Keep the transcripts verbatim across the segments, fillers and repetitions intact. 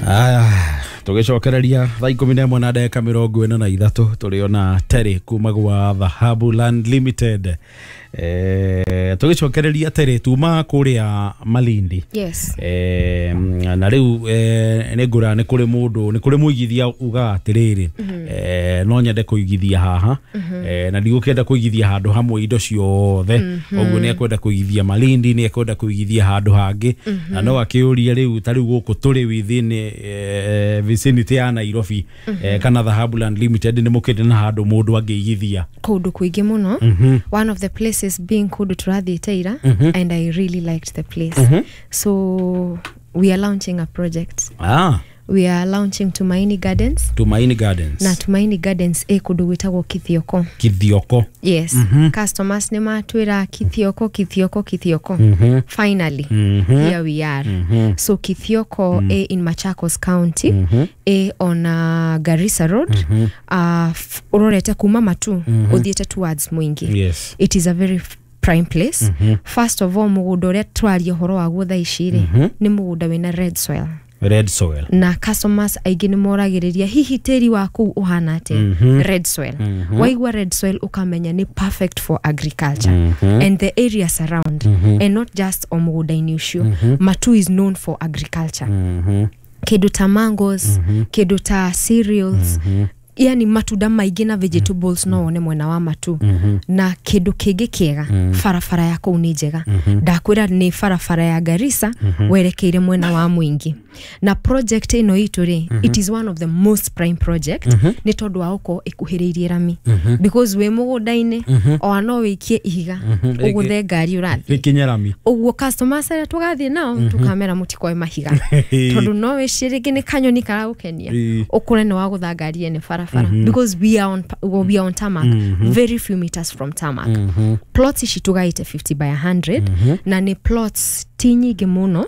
Aya, tũgĩcokereria thaa ikũmi na ĩmwe na ndagĩka mĩrongo ĩna na ithatũ tũrĩ ona Terry kuma gwa Dhahabu Land Limited. Eh, tũgĩcokereria Terry tuma kũrĩa Malindi. Yes. Eh, na rĩu eh, nĩ ngũra nĩ kũrĩ mũndũ nĩ kũrĩ mũigithia ugaga atĩrĩrĩ, eh, no nyende kũigithia haha, eh, na ndigũkĩenda kũigithia handũ hamwe indo ciothe, ũguo nĩ ekwenda kũigithia Malindi, nĩ ekwenda kũigithia handũ hangĩ, na no akĩũrie rĩu ta rĩu gũkũ tũrĩ within eh, vicinity ya Nairobi, eh, kana Dhahabu Land Limited nĩ mũkĩrĩ na handũ mũndũ angĩigithia? Kũndũ kũingĩ mũno, one of the places being kũndũ tũrathiĩte ira, and I really liked the place. So we are launching a project. ah, We are launching Tumaini Gardens. Tumaini Gardens. Na Tumaini Gardens ĩ kũndũ gwĩtagwo Kithioko. Kithioko. Yes. Customers nĩ matwĩra Kithioko, Kithioko, Kithioko. Finally here we are. So Kithioko ĩ in Machakos County, ĩ on uh, Garissa Road, uh, f- ũrorete kuma Matu ũthiĩte towards Mwingi. Yes it is a very f- prime place. First of all, mũgũnda ũrĩa tũraria ũhoro waguo thaa ici rĩ, nĩ mũgũnda wĩna red soil. Red soil. Na customers aingĩ nĩ moragĩrĩria hihi tĩri wa kũu ũhana atĩa. Red soil, waigua red soil ũkamenya nĩ perfect for agriculture and the areas around, and not just o mũgũnda-inĩ ũcio. Matu is known for agriculture, kĩndũ ta mangoes, kĩndũ ta cereals, yani matunda maingĩ na vegetables no wone mwena wa Matu. Na kĩndũ kĩngĩ kĩega, barabara ya kũu nĩ njega. Ndakwĩra nĩ barabara ya Garissa werekeire mwena wa Mwingi. Na project ĩno itũ rĩ, it is one of the most prime project nĩ tondũ wa gũkorwo ĩkuhĩrĩirie rami, because wĩ mũgũnda-inĩ ona no wĩikie ihiga ũgũthe ngari ũrathiĩ. Rĩkinye rami. Ũguo customers arĩa tũgathiĩ nao tũkamera mũtikoe mahiga, tondũ no wĩcirie rĩngĩ nĩ kanyoni karagũkenia, Ĩĩ. ũkore nĩ wagũtha ngari ene barabara, because we are on, we are on tarmac, very few meters from tarmac. Plots ici tũgaĩte fifty by one hundred, na nĩ plots ti nyingĩ mũno,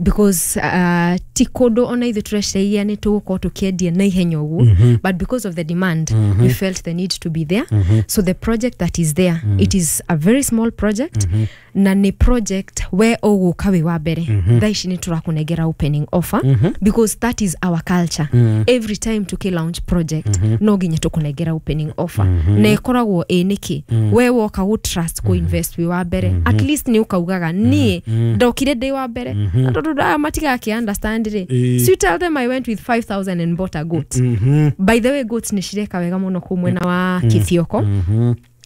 because uh, ti kũndũ ona ithuĩ tũreciragia nĩ tũgũkorwo tũkĩendia na ihenya ũguo, but because of the demand we felt the need to be there. So the project that is there, it is a very small project, na nĩ project we ũgũka wĩ wa mbere. Thaa ici nĩ tũrakũnengera opening offer, because that is our culture. Every time tũkĩ launch project no nginya tũkũnengera opening offer, na ĩkoragwo ĩ nĩkĩ we woka gũ trust kũ invest wĩ wa mbere, at least nĩ ũkaugaga niĩ ndokire ndĩ wa mbere. Na tondũ aya matigakĩ understand rĩ, Ĩĩ. so you tell them, "I went with five thousand and bought a goat." By the way, goats nĩ cireka wega mũno kũu mwena wa Kithioko.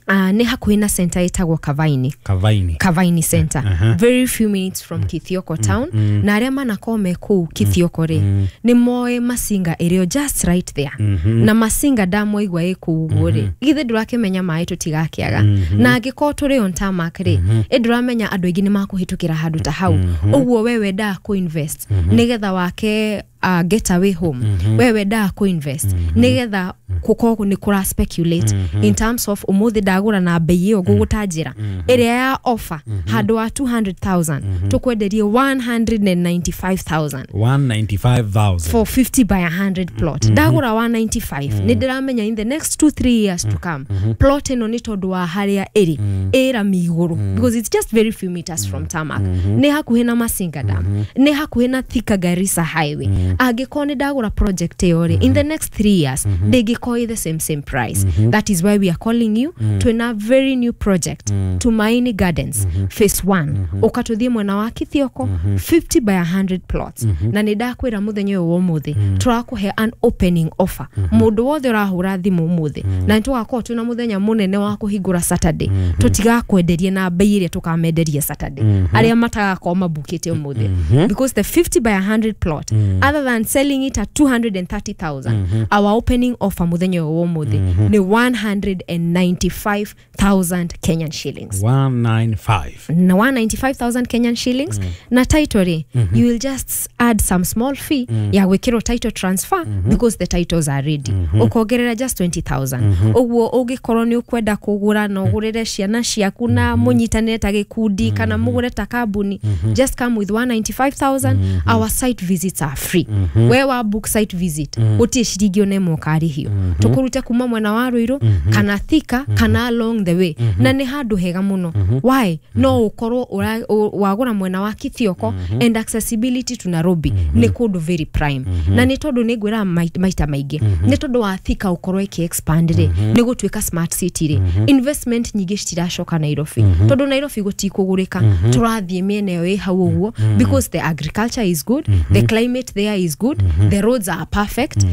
Uh, nĩ hakuhĩ na center ĩtagwo Kavaini. Kavaini. Kavaini Center, very few minutes from Kithioko town. Na arĩa manakorwo me kũu Kithioko rĩ, nĩ moĩ Masinga ĩrĩ o just right there. Na Masinga ndamwaigua ĩ kũu ũguo rĩ, githĩ ndũrakĩmenya maĩ tũtigakĩaga? Na angĩkorwo tũrĩ on tarmac rĩ, ĩ ndũramenya andũ aingĩ nĩ makũhĩtũkĩra handũ ta hau. Ũguo we wendaga kũ-invest nĩgetha wake uh, get away home, we wendaga kũ-invest nĩgetha gũkorwo nĩ kũra speculate in terms of ũmũthĩ ndagũra na bei ĩyo ngũgũtanjĩra ĩrĩa ya offer, handũ wa two hundred thousand tũkwenderie one hundred ninety-five thousand. one hundred ninety-five thousand. For fifty by one hundred plot ndagũra one ninety-five, nĩ ndĩramenya in the next two three years to come plot ĩno, nĩ tondũ wa harĩa ĩrĩ ĩrami igũrũ, because it's just very few meters from tarmac, nĩ hakuhĩ na Masinga Dam, nĩ hakuhĩ na Thika Garissa Highway, angĩkorwo nĩ ndagũra project ĩyo rĩ, in the next three years ndĩngĩkorwo ĩ the same same price. That is why we are calling you. Twĩna very new project, Tumaini Gardens phase one. Ũka tũthiĩ mwena wa Kithioko, fifty by one hundred plots. Na nĩ ndakwĩra mũthenya ũyũ wa ũmũthĩ tũrakũhe an opening offer. Mũndũ wothe ũrahũra thimũ ũmũthĩ, na nĩ tũgakorwo twĩna mũthenya mũnene wa kũhingũra Saturday, tũtigakwenderia na bei ĩrĩa tũkamenderia Saturday arĩa matagakorwo mabukĩte ũmũthĩ, because the fifty by one hundred plot, other than selling it at two hundred thirty thousand, our opening offer mũthenya ũyũ wa ũmũthĩ nĩ one hundred ninety-five thousand Kenyan shillings. one ninety-five. Na one hundred ninety-five thousand Kenyan shillings na title rĩ, you will just add some small fee ya gwĩkĩrwo title transfer, because the titles are ready. Ũkongerera just twenty thousand. Ũguo ũngĩkorwo nĩ ũkwenda kũgũra na ũgũrĩre ciana ciaku na mũnyitanĩre ta gĩkundi kana mũgũre ta kambuni, just come with one hundred ninety-five thousand. Our site visits are free. We wa book site visit, gũtirĩ ciringi ona ĩmwe ũkarĩhio. Tũkũrute kuma mwena wa Ruiru kana Thika kana along the way, na nĩ handũ hega mũno. Why? No ũkorwo ũra- ũ- wagũra mwena wa Kithioko and accessibility to Nairobi nĩ kũndũ very prime. Na nĩ tondũ nĩ ngwĩra mai- maita maingĩ, nĩ tondũ wa Thika ũkorwo ĩkĩ expand rĩ, nĩ gũtuĩka smart city rĩ, investment nyingĩ citiracoka Nairobi, tondũ Nairobi gũtikũgũrĩka. Tũrathiĩ mĩena ĩyo ĩ hau ũguo because the agriculture is good, the climate there is good, the roads are perfect.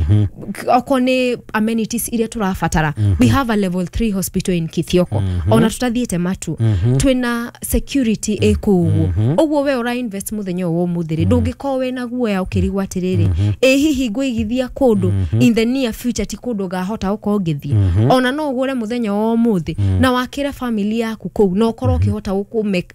Okorwo nĩ amenities iria tũrabatara, we have a level three hospital in Kithioko. Ona tũtathiĩte matu, twĩna security ĩ kũu ũguo. Ũguo we ũra invest mũthenya ũyũ wa ũmũthĩ rĩ, ndũngĩkorwo wĩna guoya ũkĩrigwo atĩrĩrĩ, ĩ hihi ngũigithia kũndũ in the near future ti kũndũ ngahota gũkorwo ngĩthiĩ. Ona no ũgũre mũthenya wa ũmũthĩ na wakĩre family yaku kũu, na ũkorwo ũkĩhota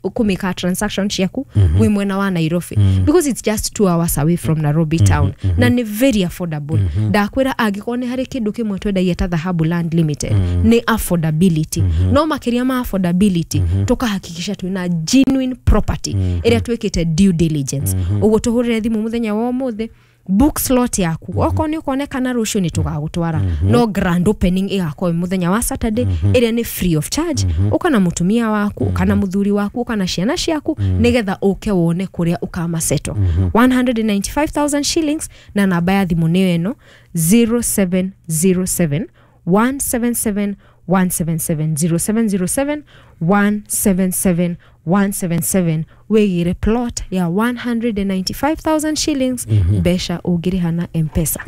kũmĩka transaction ciaku wĩ mwena wa Nairobi, because it's just two hours away from Nairobi town, na nĩ very affordable. Ndakwĩra, angĩkorwo nĩ harĩ kĩndũ kĩmwe twendagia ta Dhahabu Land Limited, nĩ affordability. No makĩria ma affordability, tũkahakikisha twĩna genuine property ĩrĩa twĩkĩte due diligence. Ũguo tũhũrĩre thimũ mũthenya wa ũmũthĩ, book slot yaku. Okorwo nĩ ũkonekana rũciũ, nĩ tũgagũtwara, no grand opening ĩgakorwo ĩ mũthenya wa Saturday, ĩrĩa nĩ free of charge. Ũka na mũtumia waku, ũka na mũthuri waku, ũka na ciana ciaku, nĩgetha ũke wone kũrĩa ũkamaseto. one hundred ninety-five thousand shillings, na namba ya thimũ nĩyo ĩno: zero seven zero seven one seven seven one seven seven, zero seven zero seven one seven seven one seven seven. Wĩgĩre plot ya one hundred ninety-five thousand shillings, mbeca ũngĩrĩha na M-Pesa.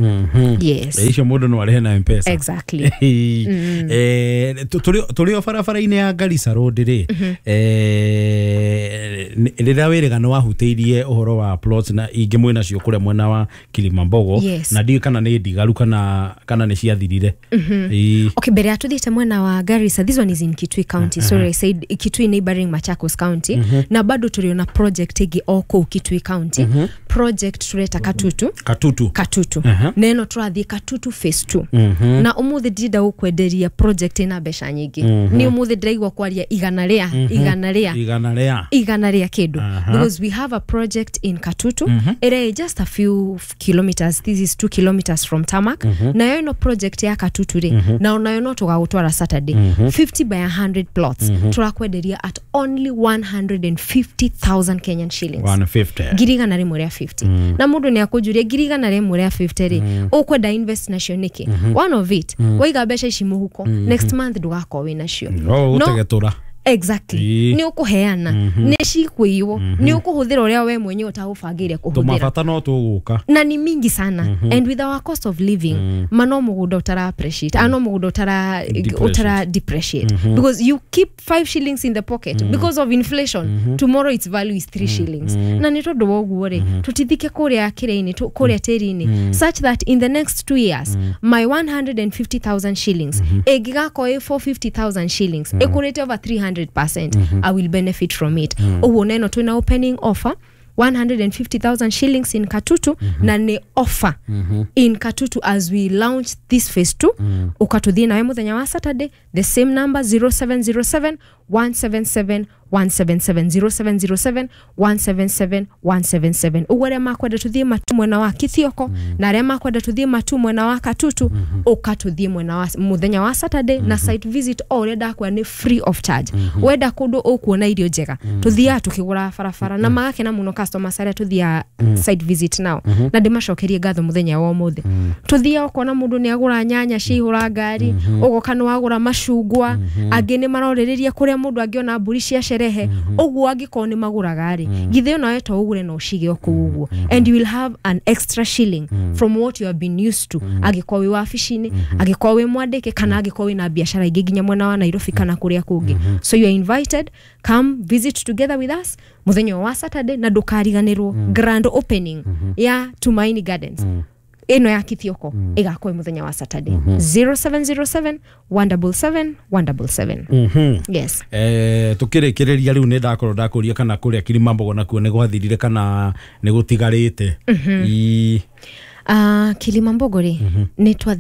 Yes. Icio mũndũ no arĩhe na M-Pesa. Exactly. Eh, tũ- tũrĩ tũrĩ o barabara-inĩ ya Garissa Road rĩ, eh, nĩ- rĩrĩa wĩrĩga nĩ wahutĩirie ũhoro wa plots na ingĩ mwĩ nacio kũrĩa mwena wa Kilimambogo. Yes. Na ndiũĩ kana nĩ ndigaru kana kana nĩ ciathirire. Ĩĩ. Okay, mbere ya tuthiĩte mwena wa Garissa, this one is in Kitui County. Sorry, I said Kitui, neighboring Machakos County. Na bado tũrĩ na project ĩngĩ o kũu Kitui County, project tureta Katutu. Katutu. Katutu. Aha. Na ĩno tũrathiĩ Katutu phase two. Na ũmũthĩ ndĩrenda gũkwenderia project ĩna mbeca nyingĩ. Nĩ ũmũthĩ ndĩraigua kwaria igana rĩa igana rĩa igana rĩa igana rĩa kĩndũ, Aha. because we have a project in Katutu ĩrĩa ĩ just a few kilometers. This is two kilometers from tarmac. Nayo ĩno project ya Katutu rĩ, na onayo no tũgagũtwara Saturday, fifty by one hundred plots, tũrakwenderia at only one hundred fifty thousand Kenyan shillings. one hundred fifty. Ngiri igana rĩmwe rĩa fifty. Na mũndũ nĩ akũnjũria, ngiri igana rĩmwe rĩa fifty rĩ, ũkwenda invest nacio nĩkĩ? One of it, waiga mbeca ici mũhuko, next month ndũgakorwo wĩ nacio. No gũtegetũra. Exactly. Ĩĩ. Nĩ ũkũheana, nĩ cikũiywo, nĩ ũkũhũthĩra ũrĩa we mwenyewe ũtagũbangĩire kũhũthĩra. Tũmabata no tũgũka. Na ni mingi sana, and with our cost of living, ma no mũgũnda ũtara appreciate, mm. no mũgũnda ũtara Depreciate. Ũtara depreciate, because you keep five shillings in the pocket, because of inflation, tomorrow its value is three shillings. Na nĩ tondũ wa ũguo rĩ, tũtithike kũrĩa kĩrĩa-inĩ, tũ- kũrĩa tĩri-inĩ, such that in the next two years my one hundred fifty thousand shillings ĩngĩgakorwo ĩ four hundred fifty thousand shillings, ĩkũrĩte over three hundred percent, I will benefit from it. Ũguo neno twĩna opening offer one hundred fifty thousand shillings in Katutu, na nĩ offer in Katutu as we launch this phase two. Ukatũthiĩ nawe mũthenya wa Saturday, the same number, zero seven zero seven one seven seven one seven seven, zero seven zero seven one seven seven one seven seven. Ũguo arĩa makwenda tũthiĩ matu mwena wa Kithioko na arĩa makwenda tũthiĩ matu mwena wa Katutu, ũka tũthiĩ mwena wa mũthenya wa Saturday na site visit o ũrĩa ndakwĩra nĩ free of charge. Wenda kũndũ ũkuona irio njega, tũthiaga tũkĩgũra barabara na magakena mũno customers arĩa tũthiaga site visit nao, na ndĩmacokerie ngatho mũthenya wa ũmũthĩ. Tũthiaga ũkona mũndũ nĩ agũra nyanya ciaihũra ngari, ũgoka nĩ wagũra macungwa, angĩ nĩ marorĩrĩria kũrĩa mũndũ angĩona mbũri cia sherehe. Ũguo angĩkorwo nĩ magũraga rĩ, githĩ onawe to ũgũre na ũcige o kũu ũguo, and you will have an extra shilling from what you have been used to, angĩkorwo wĩ wabici-inĩ, angĩkorwo wĩ mwandĩke, kana angĩkorwo wĩna biacara ingĩ nginya mwena wa Nairobi kana kũrĩa kũngĩ. So you are invited, come visit together with us mũthenya wa Saturday, na ndũkariganĩrwo grand opening ya Tumaini Gardens ĩno ya Kithioko ĩgakorwo ĩ mũthenya wa Saturday, zero seven zero seven one seven seven one seven seven. Yes. Eh, tukĩrĩkĩrĩria rĩu, nĩ ndakorwo ndakũria kana kũrĩa Kilimambogo nakuo nĩ gwathirire kana nĩ gũtigarĩte. Ii. Uh, Kilimambogo rĩ, nĩ twa